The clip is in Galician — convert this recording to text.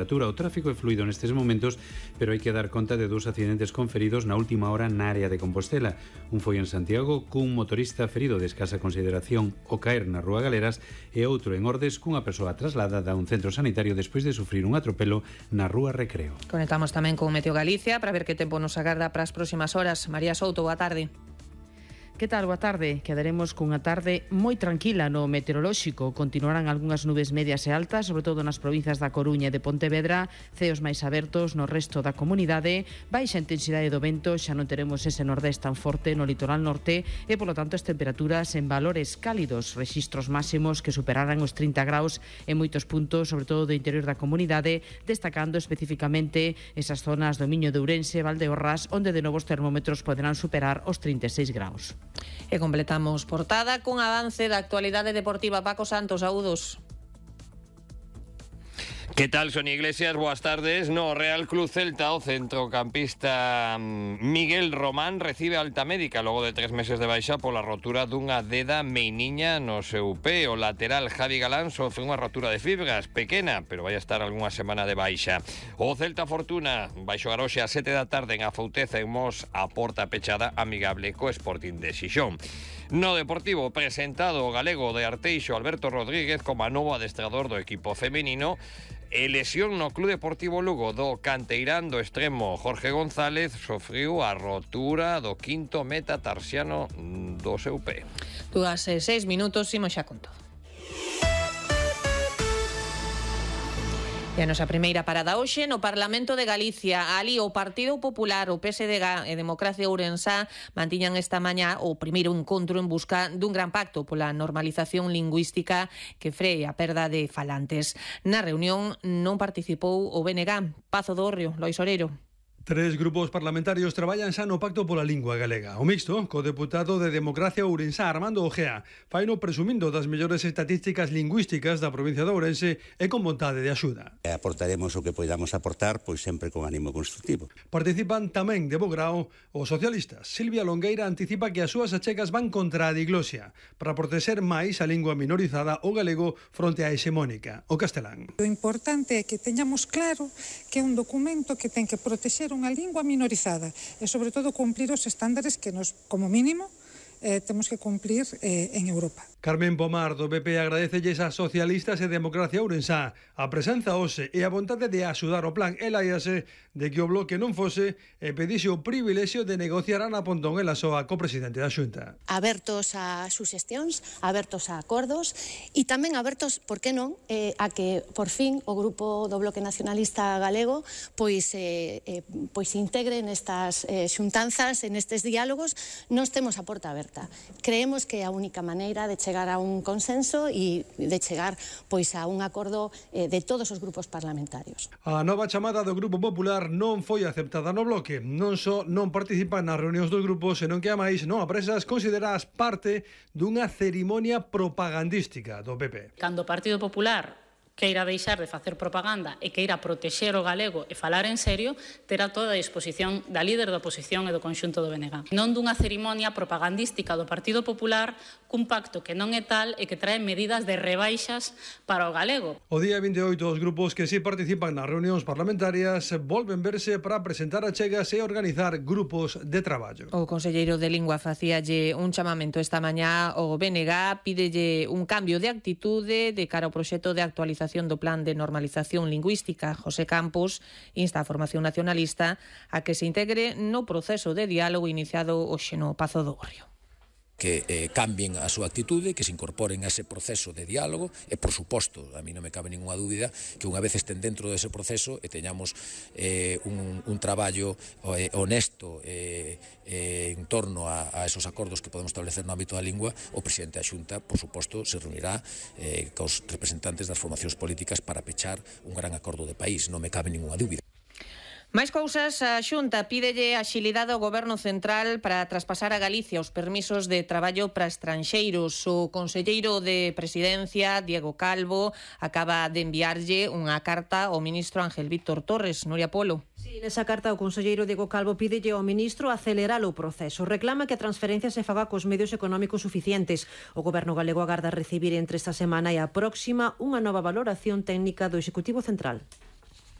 O tráfico é fluido nestes momentos, pero hai que dar conta de dous accidentes con feridos na última hora na área de Compostela. Un foi en Santiago, cun motorista ferido de escasa consideración ao caer na Rúa Galeras, e outro en Ordes, cunha persoa trasladada a un centro sanitario despois de sufrir un atropelo na Rúa Recreo. Conectamos tamén con Meteo Galicia para ver que tempo nos agarda para as próximas horas. María Souto, boa tarde. Que tal? Boa tarde. Quedaremos cunha tarde moi tranquila no meteorolóxico. Continuarán algunhas nubes medias e altas, sobre todo nas provincias da Coruña e de Pontevedra, ceos máis abertos no resto da comunidade, baixa intensidade do vento, xa non teremos ese nordés tan forte no litoral norte e, polo tanto, as temperaturas en valores cálidos, rexistros máximos que superarán os 30 graus en moitos puntos, sobre todo do interior da comunidade, destacando especificamente esas zonas do Miño de Ourense e Valdeorras, onde de novo os termómetros poderán superar os 36 graus. E completamos portada cun avance da actualidade deportiva. Paco Santos, saúdos. Que tal, Sonia Iglesias? Boas tardes. No Real Club Celta, o centrocampista Miguel Román recibe alta médica logo de 3 meses de baixa pola rotura dunha deda meiniña no seu pé. O lateral Javi Galán sofre unha rotura de fibras pequena, pero vai estar algunha semana de baixa. O Celta Fortuna vai xogar hoxe a 7 da tarde en Afouteza en Mos, a porta pechada, amigable co Sporting de Xixón. No Deportivo, presentado o galego de Arteixo Alberto Rodríguez como a novo adestrador do equipo femenino. E lesión no Club Deportivo Lugo do canteirán do extremo Jorge González sofriu a rotura do quinto metatarsiano do seu pé. 2:06 minutos, imos xa con todo. E a nosa primeira parada hoxe no Parlamento de Galicia. Ali o Partido Popular, o PSDG e Democracia Ourensá mantiñan esta mañá o primeiro encontro en busca dun gran pacto pola normalización lingüística que free a perda de falantes. Na reunión non participou o BNG. Pazo do Hórreo, Lois Oreiro. 3 grupos parlamentarios traballan xa no pacto pola lingua galega. O mixto, co deputado de Democracia Ourensá, Armando Ojea, faino presumindo das mellores estatísticas lingüísticas da provincia de Ourense e con vontade de axuda. Aportaremos o que podamos aportar, pois sempre con ánimo constructivo. Participan tamén de bo grao os socialistas. Silvia Longueira anticipa que as súas achegas van contra a diglosia para protexer máis a lingua minorizada, o galego, fronte á hexemónica, o castelán. O importante é que teñamos claro que é un documento que ten que protexer unha lingua minorizada e, sobre todo, cumplir os estándares que nos, como mínimo, temos que cumplir en Europa. Carmen Pomar do PP agradecelles a socialistas e Democracia Ourensá a presenza hoxe e a vontade de axudar o plan. Ela íase de que o bloque non fose e pedixe o privilexio de negociar Ana Pontón ela soa co presidente da Xunta. Abertos a suxestións, abertos a acordos e tamén abertos, por que non, a que por fin o grupo do Bloque Nacionalista Galego pois se integre nestas xuntanzas, nestes diálogos. Nos temos a porta aberta. Creemos que é a única maneira de chegar a un consenso e de chegar pois a un acordo de todos os grupos parlamentarios. A nova chamada do Grupo Popular non foi aceptada no bloque. Non só non participan nas reunións dos grupos, senón que a máis non apresas consideradas parte dunha cerimonia propagandística do PP. Cando o Partido Popular queira deixar de facer propaganda e queira protexer o galego e falar en serio, terá toda a disposición da líder da oposición e do conxunto do BNG. Non dunha cerimonia propagandística do Partido Popular cun pacto que non é tal e que trae medidas de rebaixas para o galego. O día 28 os grupos que si participan nas reunións parlamentarias volven verse para presentar achegas e organizar grupos de traballo. O conselleiro de Lingua facíalle un chamamento esta mañá ao BNG, pídelle un cambio de actitude de cara ao proxecto de actualización do Plan de Normalización Lingüística. José Campos insta a formación nacionalista a que se integre no proceso de diálogo iniciado hoxe no Pazo do Hórreo. Que cambien a súa actitude, que se incorporen a ese proceso de diálogo e, por suposto, a mí non me cabe ninguna dúbida que unha vez estén dentro dese proceso e teñamos un traballo honesto en torno a esos acordos que podemos establecer no ámbito da lingua, o presidente da Xunta, por suposto, se reunirá cos representantes das formacións políticas para pechar un gran acordo de país, non me cabe ninguna dúbida. Máis cousas, a Xunta pídelle axilidade ao Goberno Central para traspasar a Galicia os permisos de traballo para estranxeiros. O conselleiro de Presidencia, Diego Calvo, acaba de enviarlle unha carta ao ministro Ángel Víctor Torres. Nuria Polo. Sí, nesa carta o conselleiro Diego Calvo pídelle ao ministro acelerar o proceso. Reclama que a transferencia se faga cos medios económicos suficientes. O Goberno galego agarda recibir entre esta semana e a próxima unha nova valoración técnica do Executivo Central.